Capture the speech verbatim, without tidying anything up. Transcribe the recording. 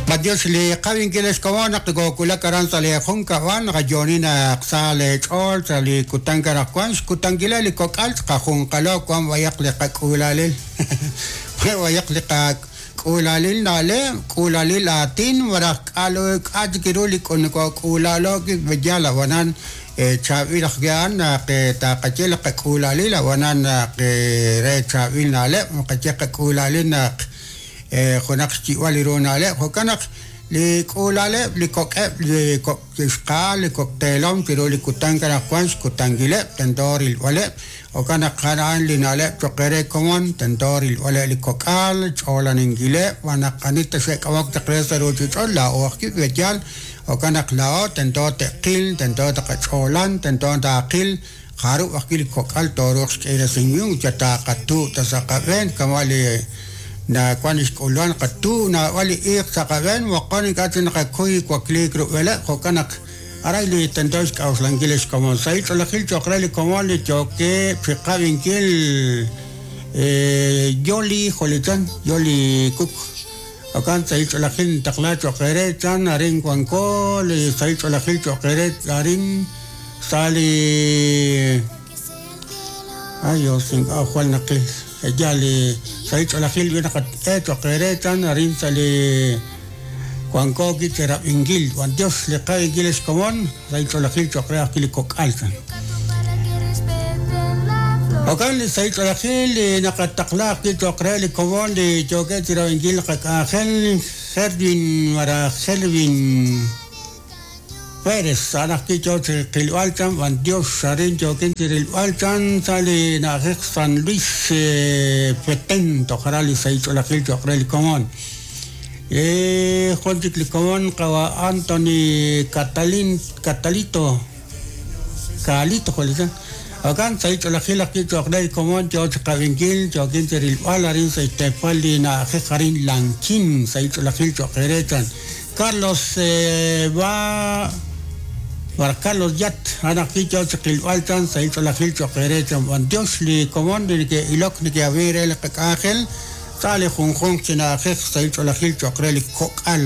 Adiós li qawinkil xkomon naq kokulak aran sa' li junkab'al naqayoni naq sa' li ch'ool sa' li kutan anaqwan xkutankileb' li kok'al qajunqalo wan b'ayaq li qak'uulalil b'ayaq li qak'uulalil na'leb' k'uulalil aatin maraj k'alu k'a' chik ru li k'uulalo yal ab'anan chaab'il ajwi' naq taqaye li qak'uulalil ab'anan naq re chaab'il na'leb' qaye qak'uulalil naq junaq xyib'al li ru na'leb' jo'kan naq li k'uulaleb' li kok'eb' li kok' xqaal li kok'teelom chiru li kutan anaqwan xkutankileb' tento rilb'aleb' jo'kan naq a'an li na'leb' cho'q re komon tento rilb'aleb' li kok'al ch'olaninkileb' wan naq ani ta xe'k'amok chaq re sa' ruuchich'och' laa'o ajwi' b'eyal jo'kan naq laa'o tento te'qil tento taqach'olan tento taaqil jarub' ajwi' li kok'al tooruuq xk'iresinkil ut taqatu' ta sa' qab'een kama' li na wan xk'ulwan qatu naab'al li iiq sa' qab'een moqon ink'a' chik naqakuy wakliik rub'eleb' jo'kan naq aray li tento xk'a'uxlankil xkomon sahil ch'oolejil cho'q re li komon li yookeb' chiqab'inkil Yoli jolichan Yoli Cook jo'kan sahil ch'oolejil ntaqla cho'q re chan arin wanko li sahil ch'oolejil cho'q re arin sa' li ay Dios ink'a' jwal naqil ya li sahil ch'oolejil wi naqat'e cho'q re chan arin sa' li wanko kicherab'inkil wan Dios li qawinkil xkomon sahil ch'oolejil cho'q re ajwi' li kok'al chan jo'kan li sahil ch'oolejil li naqataqla ajwi' cho'q re li komon li yookeb' chirab'inkil qak'anjel Jerwin maraj Jerwin Pérez a'an ajwi' yoo chi qilb'al chan wan Dios arin yookin chirilb'al chan sa' li na'ajej San Luis Petén toj aran li sahil ch'oolejil cho'q re li komon jun chik li komon qawa Anthony Catalin Catalito Calito jolichan jo'kan sahil ch'oolejil ajwi' cho'q re li komon yoo chi qawinkil yookin chirilb'al arin sa' xteepal li na'ajej arin Lanquín sahil ch'oolejil cho'q re chan Carlos va Para Carlos Yat, a'an ajwi' yoo chi qilb'al chan sahil ch'oolejil cho'q re chan wan Dios li komon li neke'ilok neke'ab'i re li qak'anjel sa' li junjunq chi na'ajej sahil ch'oolejil cho'q re li kok'al.